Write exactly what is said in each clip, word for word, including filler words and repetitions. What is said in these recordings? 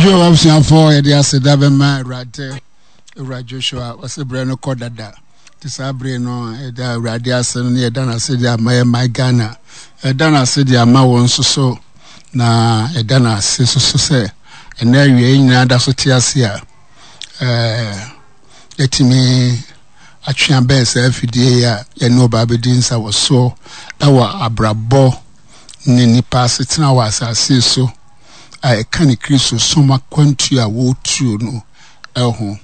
Yo, abusuafoɔ, yɛde aseda bɛma Awurade. Owura Joshua, ɔsɛ berɛ no kɔ dada. Nti saa bere no, yɛda Awurade ase no, na yɛda no ase de ama yɛ man Ghana. Yɛda no ase de ama wɔn nso so, na yɛda no ase nso so sɛ ɛnɛ awia yi nyinaa da so te ase a, ɛɛ, yɛatumi atwe abɛn saa afidie yi a yɛne ɔbaa bɛdi nsa wɔ soɔ ɛwɔ abrabɔ ne nipa asetena wɔ asase so a ɛka ne Kristo som akwantuo a wɔretuo no ho.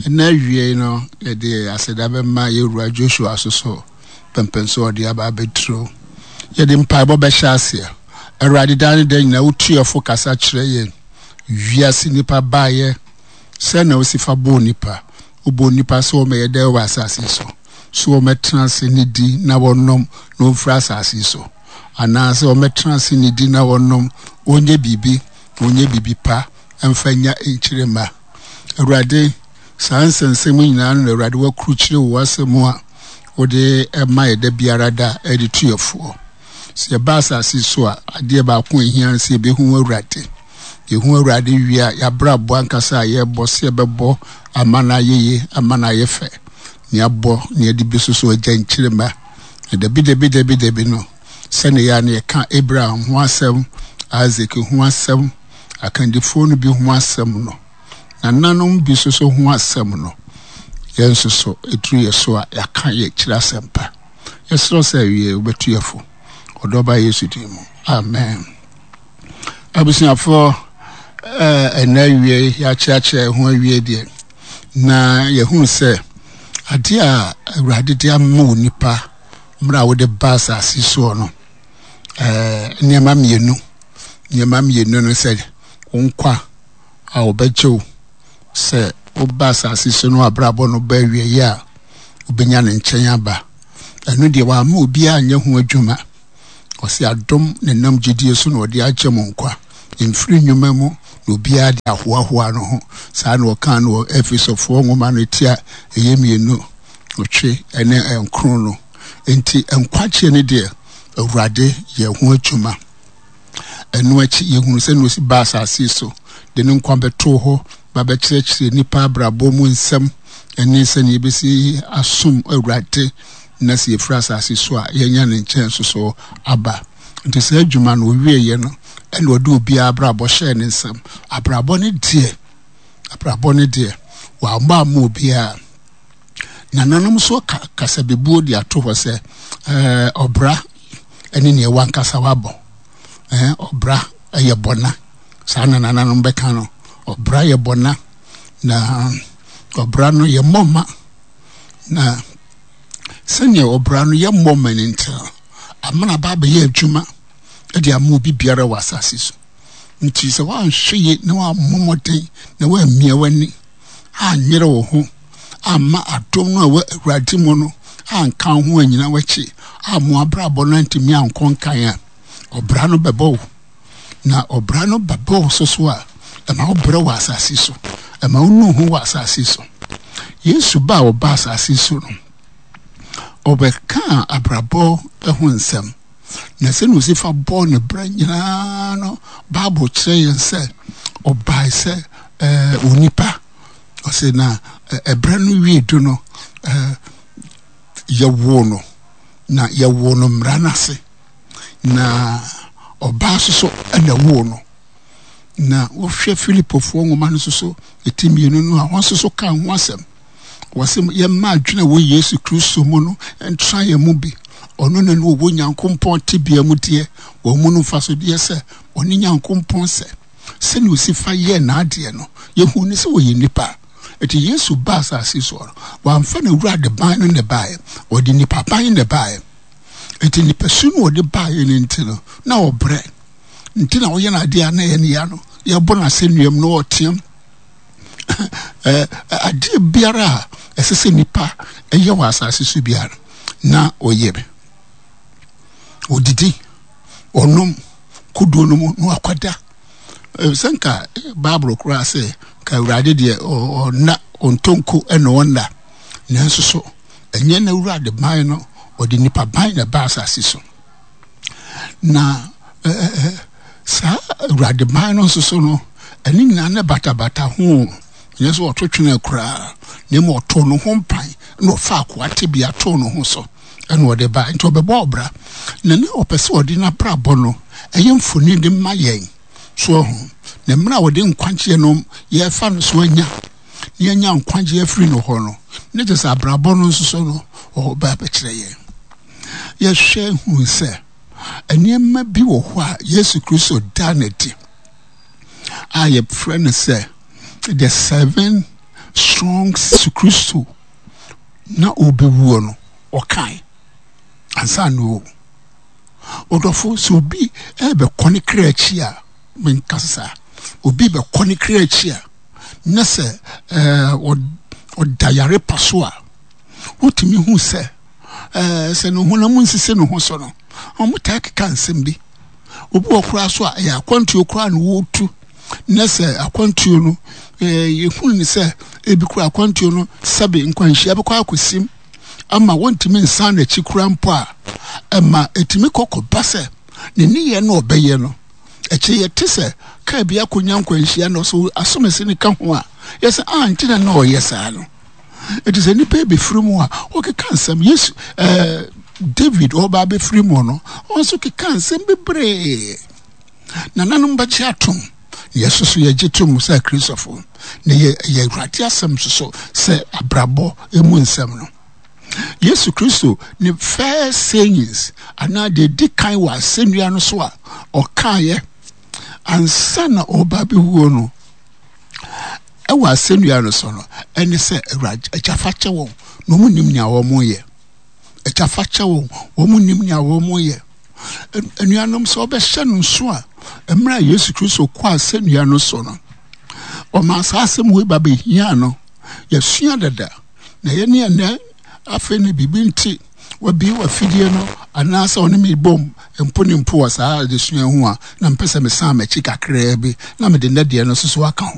Ɛnɛ awiei no, yɛde aseda bɛma yɛwura Joshua so so pɛmpɛn so ɔde aba abɛduro. Yɛde mpaebɔ bɛhyɛ aseɛ. Awurade, daa ne da nyinaa wotu yɛfo kasa kyerɛ yɛn. Wiase nipa baeɛ sɛ na wosi fa bɔɔ nipa. Wobɔɔ nipa sɛ wɔmɛyɛ dɛ wɔ asase so. So wɔmɛtena ase ne di na wɔnom na wɔmfiri asase so. Anaasɛ wɔmɛtena ase ne di na wɔnom, wɔnyɛ biribi, na wɔnyɛ biribi pa mfa nya nkyerɛma. Awurade, saa nsɛnsɛm nyinaa no na Awurade wakurukyire wɔ w'asɛm mu a wode ma yɛ da biara da de tu yɛfoɔ. Sɛ yɛba asase so a, adeɛ baako a ɛhia no sɛ yɛbɛhu Awurade. Yɛhu Awurade wie a, yɛabrabɔ ankasa a yɛbɔ sɛ yɛbɛbɔ ama no ayɛ yie, ama no ayɛ fɛ. Ne abɔ ne yɛde bi so so agya nkyerɛma. Na dabi dabi dabi dabi no, sɛne yɛ a na yɛka Abraham ho asɛm, Isaac ho asɛm, akandifoɔ no bi ho asɛm no, nananom bi nso so ho asɛm no, yɛn nso so ɛduru yɛ so a yɛaka yɛ kyerɛ asɛmpa. Yɛserɛ sɛ awie wobɛtu yɛ fo. Ɔdɔba Yesu din mu. Amen. Abusuafoɔ, ɛnɛ awie yɛakyerɛkyerɛ ho awie deɛ, na yɛhunu sɛ adeɛ a Awurade de ama onipa mmerɛ a wode ba asase soɔ no, nneɛma mmienu nneɛma mmienu no sɛ wo nkwa a wɔbɛgye wo sɛ woba asase so no abrabɔ no ba awieeɛ a wobɛnya ne nkyɛn aba. Ɛno deɛ wamma obiara nyɛ ho adwuma. Ɔse adom ne nam gyidie so na ɔde agye mo nkwa, mfiri nnwuma mu na obiara de ahoahoa no ho. Saa na ɔkaa no wɔ Efesofoɔ nwoma no ti a ɛyɛ mmienu ɔtwe ne nkron no. Enti nkwagyeɛ no deɛ Awurade yɛ ho adwuma. Ɛno akyi yɛhunu sɛ na ɔsi ba asase so de ne nkwa bɛtoo hɔ ba bɛkyerɛkyerɛ nnipa abrabɔ mu nsɛm ɛne sɛnea yɛbɛsi asom Awurade na sɛ yɛfiri asase so a yɛanya ne nkyɛn nso so aba. Nti saa adwuma no ɔwieeɛ no ɛna ɔde obiara abrabɔ hyɛɛ ne nsam. Abrabɔ no deɛ, abrabɔ no deɛ, wammɔ amma obiara. Nananom nso ka kasabebuo de ato hɔ sɛ ɛɛ ɔbra ɛne nea wankasa wabɔ. Ɛɛ ɔbra ɛyɛ bɔna. Saa na nananom bɛka no. Ɔbra yɛ bɔna na ɔbra no yɛ mmɔma. Na sɛnea ɔbra no yɛ mmɔma no nti no, amena ba abɛyɛ adwuma de ama obi biara wɔ asase so. Nti sɛ woanhwɛ yie na woammɔ mmɔden na woammia w'ani anyere wo ho amma adom no a ɛwɔ Awurade mu no anka wo ho anyina w'akyi amma w'abrabɔ no antumi ankɔ nkan a, ɔbra no bɛbɔ wo. Na ɔbra no bɛbɔ wo so so a, ɛma wo brɛ wɔ asase so. Ɛma wo nu ho wɔ asase so. Yesu ba a ɔba asase so no, ɔbɛkaa abrabɔ ho nsɛm. Na sɛnea ɔsi fa bɔɔ ne bra nyinaa no, Bible kyerɛ yɛn sɛ ɔbae sɛ ɛɛ onipa. Ɔsɛ na ɛbrɛ no wie du no, ɛɛ yɛwoo no, na yɛwoo no mmara no ase. Na ɔbaa nso so ɛna woo no. Na wohwɛ Filipofoɔ nwoma no nso so, ɛti mmienu no a, wɔn nso so ka ho asɛm. Wɔse yɛmma adwene a ɛwɔ Yesu Kristo mu no ntra yɛn mu bi. Ɔno na ne ɔwɔ Nyankopɔn tebea mu deɛ, wɔn mu no mfasodeɛ sɛ ɔne Nyankopɔn sɛ. Sɛnea ɔsi fa yɛɛ n'adeɛ no, yɛhu no sɛ ɔyɛ nipa. Enti Yesu baa asase soɔ no, wamfa n'awurade ban no na ɛbaeɛ, ɔde nipa ban na ɛbaeɛ. Enti nipasu no ɔde baeɛ no nti no, na ɔbrɛ. Nti na ɔyɛ n'adeɛ a na ɛyɛ ne ya no, yɛbɔ no asɛnnuam na ɔteam. Adeɛ biara a ɛsɛ sɛ nipa ɛyɛ wɔ asase so biara na ɔyɛ bi. Ɔdidi, ɔnom kodoɔ no mu na wakɔda. Sɛ nka Bible koraa sɛ nka Awurade deɛ ɔnna, ɔntɔ nko na ɔnna. Nanso so ɛnyɛ n'Awurade ban no, ɔde nipa ban na ɛba asase so. Na saa Awurade ban no nso so no, Ɛne nyinaa ne batabata ho. Ɛnyɛ sɛ ɔto twene koraa, na mmom ɔtoo ne ho mpan na ɔfa akoa tebea too ne ho so ɛna ɔde ba. Nti ɔbɛbɔ ɔbra, na ne ɔpɛ sɛ ɔde n'abrabɔ no ɛyɛ mfoni de ma yɛn so ɔho. Na mmerɛ a ɔde nkwagyeɛ no yɛfa no so anya na yɛnya nkwagyeɛ afiri no hɔ no, ne kyerɛ sɛ abrabɔ no nso so no ɔba bɛkyerɛ yɛn. Yɛhwɛ hu sɛ nneɛma bi wɔ hɔ a Yesu Kristo da n'adi a yɛfrɛ no sɛ the seven strong. Yesu Kristo na ɔbɛwuo no, ɔkae ansa na ɔwu. Ɔdɔfo, sɛ obi ɛbɛkɔ ne kra akyi a, menka saa, obi bɛkɔ ne kra akyi a, na sɛ ɛɛ ɔda yare pa so a, wotumi hu sɛ ɛɛ sɛ ne honam nsisi ne ho so no, wɔn taa keka nsɛm bi. Obi wɔ koraa so a, ɛyɛ akwantuo koraa na wɔretu, na sɛ akwantuo no ɛɛ yɛhunu ne sɛ ebi koraa akwantuo no sɛbe nkwanhyia bɛkɔ akɔsim ama wɔntumi nsan n'akyi koraa mpo a, ɛma ɛtumi kɔkɔba sɛ ne nneyɛɛ no ɔbɛyɛ no akyire yɛte sɛ kaa bi akɔnya nkwanhyia na ɔsɛ asomasi ne ka ho a, yɛsɛ a nti na na ɔyɛ saa no. Ɛti sɛ nnipa bɛfiri mu a, wɔkeka nsɛm. Yesu ɛɛ David ɔba bɛfiri mu no, ɔno nso keka nsɛm bebree. Nananom bɛgye atom, na yɛso so yɛgye tom sɛ Kristofo, na yɛ yɛ Awurade asɛm nso so sɛ abrabɔ emu nsɛm no. Yesu Kristo ne first sayings anaa deɛ di kan wɔ asɛnnua no so a ɔkaeɛ ansa na ɔba bɛwuo no ɛwɔ asɛnnua no so no, ɛne sɛ, Awurade, Agya, fa kyɛ wɔn, na wɔn nim nea wɔn yɛ. Agya, fa kyɛ wɔn, wɔn nim nea wɔn yɛ. Anuanom, sɛ ɔbɛhyɛ no nso a, mmerɛ a Yesu Kristo kɔ asɛnnua no so no, ɔmaa saa asɛm wei ba bɛhia no. Yɛsua dada na yɛne ɛnɛ afei ne biribi nti wabie wafidie no anaasɛ ɔne me bom mpo ne mpo wɔ saa adesua ho a, na mpɛ sɛ mesan m'akyi kakraa bi na mede nnɛ deɛ no nso so aka ho.